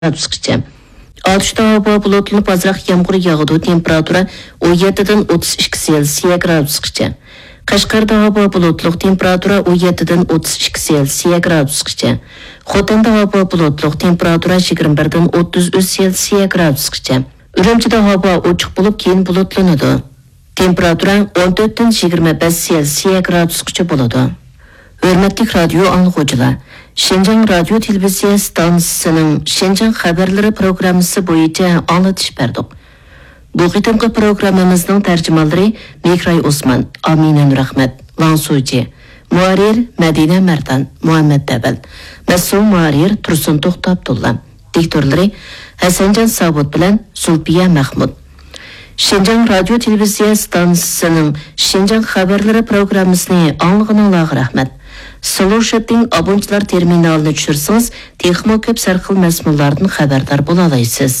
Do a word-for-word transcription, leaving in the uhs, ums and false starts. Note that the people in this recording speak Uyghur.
گرادۇسقىچە. ئاتۇشتا ھاۋا بۇلۇتلىنىپ، ئازراق يامغۇر ياغىدۇ، تېمپېراتۇرا ئون يەتتىدىن ئوتتۇز ئىككى سېلسىيە گرادۇسقىچە. قەشقەردە ھاۋا بۇلۇتلۇق، تېمپېراتۇرا ئون يەتتىدىن ئوتتۇز ئىككى سېلسىيە گرادۇسقىچە. خوتەندە ھاۋا بۇلۇتلۇق، تېمپېراتۇرا يىگىرمە بىردىن ئوتتۇز ئۈچ سېلسىيە گرادۇسقىچە. ئۈرۈمچىدە ھاۋا ئوچۇق بولۇپ، كېيىن بۇلۇتلىنىدۇ. تېمپېراتۇرا ئون تۆتتىن يىگىرمە بەش سېلسىيە گرادۇسقىچە بولىدۇ. ھۆرمەتلىك رادىيو ئاڭلىغۇچىلار، شىنجاڭ رادىيو تېلېۋىزىيە ئىستانسىسىنىڭ شىنجاڭ خەۋەرلىرى پروگراممىسى بويىچە ئاڭلىتىش بەردۇق. بۇ قېتىمقى پروگراممىمىزنىڭ تەرجىمانلىرى مېھراي ئوسمان، ئامىنە نۇرئەخمەت، ۋاڭ سۇجى، مۇھەررىر مەدىنە مەردان، مۇھەممەد دەۋەل، مەسئۇل مۇھەررىر تۇرسۇن توختى ئابدۇللا، دىكتورلىرى ھەسەنجان ساۋۇت بىلەن زۇلپىيە مەخمۇت. شىنجاڭ رادىيو تېلېۋىزىيە ئىستانسىسىنىڭ شىنجاڭ خەۋەرلىرى پروگراممىسىنى ئاڭلىغىنىڭلارغا رەھمەت. سلوشىتىڭ ئابونچىلار تېرمىنالىنى چۈشۈرسىڭىز، تېخىمۇ كۆپ سەرخىل مەزمۇنلاردىن خەۋەردار بولالايسىز.